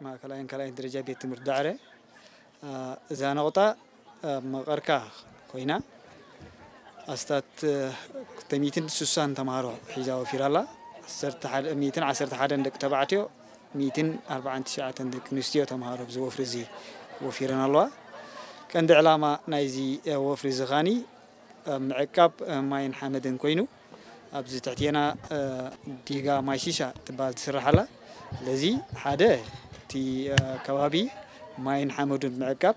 ማእከላይን ካልኣይን ደረጃ ቤት ትምህርቲ ዳዕረ። እ፣ እዛ ነቑጣ ኣብ መቐርካ ኮይና ኣስታት፣ እ፣ ክልተ ሚእትን ስሳን ተምሃሮ ሒዛ ወፊራ ኣላ። ዓሰርተ ሓደ፣ ሚእትን ዓሰርተ ሓደን ደቂ ተባዕትዮ፣ ሚእትን ኣርባዓን ትሽዓተን ደቂ ኣንስትዮ ተምሃሮ ኣብዚ ወፍሪ እዚ ወፊረን ኣለዋ። ቀንዲ ዕላማ ናይዚ፣ እ፣ ወፍሪ እዚ ኻኒ ኣብ ምዕቃብ፣ እ፣ ማይን ሓመድን ኮይኑ ኣብዚ ትሕቴና፣ እ፣ ዲጋ ማይ ሺሻ ትበሃል ትስራሕ ኣላ። ስለዚ ሓደ እቲ፣ እ፣ ከባቢ ማይን ሓመዱን ምዕቃብ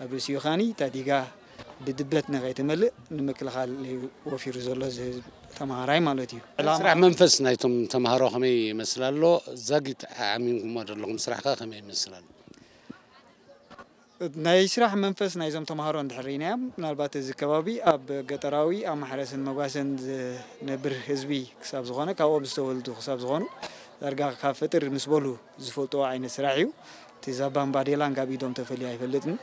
ኣብ ርእሲኡ ኻኒ እታ ዲጋ ብድበት ንኸይትመልእ ንምክልኻል እዩ ወፊሩ ዘሎ እዚ ህዝቢ ተምሃራይ ማለት እዩ። ዕላማ ስራሕ መንፈስ ናይቶም ተምሃሮ ከመይ ይመስል ኣሎ? ዛጊት ዓሚምኩሞ ዘለኹም ስራሕከ ከመይ ይመስል ኣሎ? ናይ ስራሕ መንፈስ ናይዞም ተምሃሮ እንድሕር ርኢናዮም፣ ምናልባት እዚ ከባቢ ኣብ ገጠራዊ ኣብ ማሕረስን መጓሰን ዝነብር ህዝቢ ክሳብ ዝኾነ፣ ካብኦም ዝተወልዱ ክሳብ ዝኾኑ፣ ዳርጋ ካብ ፈጥር ምስ በሉ ዝፈልጥዎ ዓይነት ስራሕ እዩ። እቲ ዛባን ባዴላን ካብ ኢዶም ተፈልዩ ኣይፈልጥን።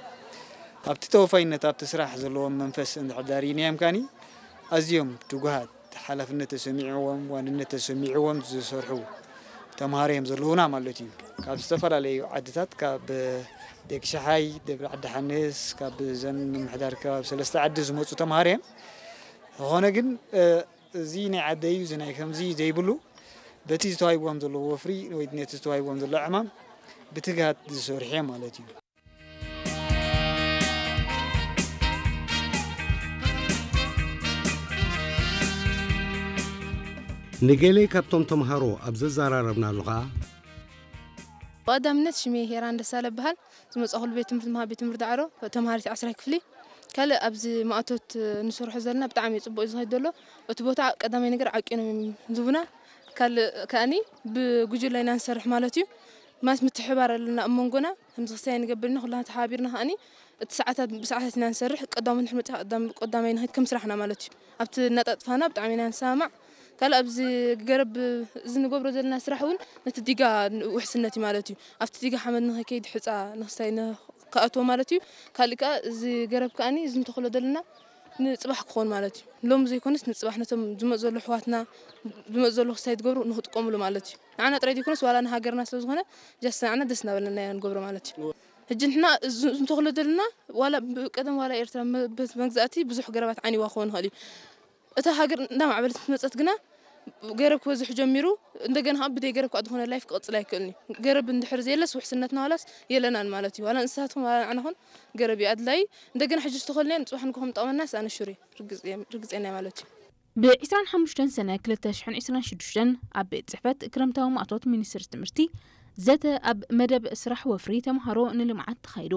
ኣብቲ ተወፋይነት፣ ኣብቲ ስራሕ ዘለዎም መንፈስ እንድሕር ዳርኢናዮም ካኒ፣ ኣዝዮም ትጉሃት፣ ሓላፍነት ተሰሚዕዎም፣ ዋንነት ተሰሚዕዎም ዝሰርሑ ተምሃሮ እዮም ዘለዉና ማለት እዩ። ካብ ዝተፈላለዩ ዓድታት፣ ካብ ደቂ ሸሓይ፣ ደብረ ዓዲ ሓንስ፣ ካብ ዘን ምምሕዳር ከባቢ ሰለስተ ዓዲ ዝመፁ ተምሃሮ እዮም። ዝኾነ ግን፣ እ፣ እዚ ናይ ዓደይ እዩ፣ እዚ ናይ ከምዚ ዘይብሉ፣ በቲ ዝተዋሂብዎም ዘለዉ ወፍሪ ወይ ነቲ ዝተዋሂብዎም ዘሎ ዕማም ብትግሃት ዝሰርሑ እዮም ማለት እዩ። ንገለ ካብቶም ተምሃሮ ኣብ ዘዘራረብናሉ ኸኣ፣ ብቐዳምነት ሽመይ ሄራን ደሳለ እበሃል። ዝመጻእኩሉ ቤት ትምህርቲ ምሃብ ቤት ትምህርቲ ዳዕሮ፣ ተምሃሪት ዓስራይ ክፍሊ። ካልእ ኣብዚ ማእቶት ንሰርሖ ዘለና ብጣዕሚ እዩ ጽቡቕ እዩ ዝኸይድ ዘሎ። እቲ ቦታ ቀዳማይ ነገር ዓቂኖም እዮም ዝህቡና። ካልእ ከኣኒ ብጉጅለ ኢና ንሰርሕ ማለት እዩ። ማለት ምትሕብባር ኣለና ኣብ መንጎና። ከምዚ ክስታይ ንገብር ኢና፣ ኩላና ተሓባቢርና ከኣኒ እቲ ሰዓታት ብሰዓታት ኢና ንሰርሕ። ቀዳሞት ንድሕር መጺኻ ቀዳም-፣ ቀዳማይ ንኸይድ ከም ስራሕና ማለት እዩ። ኣብቲ እናጣጥፋና ብጣዕሚ ኢና ንሰማማዕ። ካልእ ኣብዚ ገረብ እዚ ንገብሮ ዘለና ስራሕ እውን ነቲ ዲጋ ውሕስነት እዩ ማለት እዩ። ኣብቲ ዲጋ ሓመድ ንኸይከይድ፣ ሕፃ ንክስታይ ንክኣትዎ ማለት እዩ። ካልእ ከኣ እዚ ገረብ ከኣኒ እዚ ንተኽሎ ዘለና ንጽባሕ ክኾን ማለት እዩ። ሎሚ ዘይኮነስ ንጽባሕ ነቶም ዝመጽእ ዘሎ ኣሕዋትና፣ ዝመጽእ ዘሎ ክስታይ ትገብሩ ንክጥቀምሉ ማለት እዩ። ንዓና ጥራይ ዘይኮነስ ዋላ ንሃገርና ስለ ዝኾነ ጃስት ንዓና ደስ እናበለና ኢና ንገብሮ ማለት እዩ። ሕጂ ንሕና እዚ ንተኽሎ ዘለና ዋላ ብቀደም ዋላ ኤርትራ መ-፣ በቲ መግዛእቲ ብዙሕ ገረባት ዓንይዋ ክኸውን ይኽእል እዩ። እታ ሃገር እንዳማዕበለት ምስ መጸት ግና ገረብ ክበዝሕ ጀሚሩ። እንደገና ከዓ ብደይ ገረብ ከዓ ዝኾነ ላይፍ ክቕጽል ኣይክእልን እዩ። ገረብ እንድሕር ዘየለስ ውሕስነትና ዋላስ የለናን ማለት እዩ። ዋላ እንስሳት ኹን ዋላ ንዓና ኹን ገረብ እዩ ኣድላይ። እንደገና ሕጂ ዝተኸልናዮ ንጽባሕ ንግሆ ምጠቕመናስ ኣነ ሹር እየ። ርግጽ እየ፣ ርግጸኛ እየ ማለት እዩ። ብ ዕስራን ሓሙሽተን ሰነ ክልተ ሽሕን ዕስራን ሽዱሽተን ኣብ ቤት ጽሕፈት ክረምታዊ ማእቶት ሚኒስትሪ ትምህርቲ ዘተ ኣብ መደብ ስራሕ ወፍሪ ተምሃሮ ንልምዓት ተኻይዱ።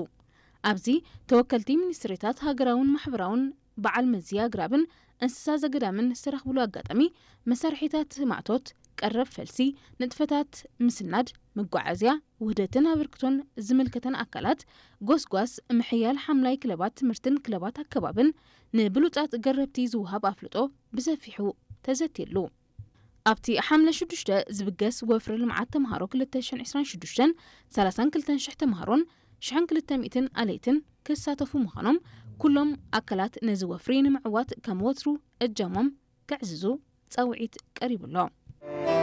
ኣብዚ ተወከልቲ ሚኒስትሪታት ሃገራውን ማሕበራውን በዓል መዚ ኣግራብን እንስሳ ዘገዳምን ዝተረኽብሉ ኣጋጣሚ መሳርሒታት ማእቶት፣ ቀረብ ፈልሲ፣ ንጥፈታት ምስናድ፣ መጓዓዝያ፣ ውህደትን ኣበርክቶን ዝምልከተን ኣካላት፣ ጎስጓስ፣ ምሕያል ሓምላይ ክለባት ትምህርትን ክለባት ኣከባብን ንብሉጻት ገረብቲ ዝወሃብ ኣፍልጦ ብሰፊሑ ተዘትየሉ። ኣብቲ ሓምለ ሽዱሽተ ዝብገስ ወፍሪ ልምዓት ተምሃሮ ክልተ ሽሕን ዕስራን ሽዱሽተን ሰላሳን ክልተን ሽሕ ተምሃሮን ሽሕን ክልተ ሚእትን ኣለይትን ክሳተፉ ምዃኖም ኩሎም ኣካላት ነዚ ወፍሪ ንምዕዋት ከም ወትሩ እጃሞም ከዕዝዙ ጻውዒት ቀሪቡ ኣሎ።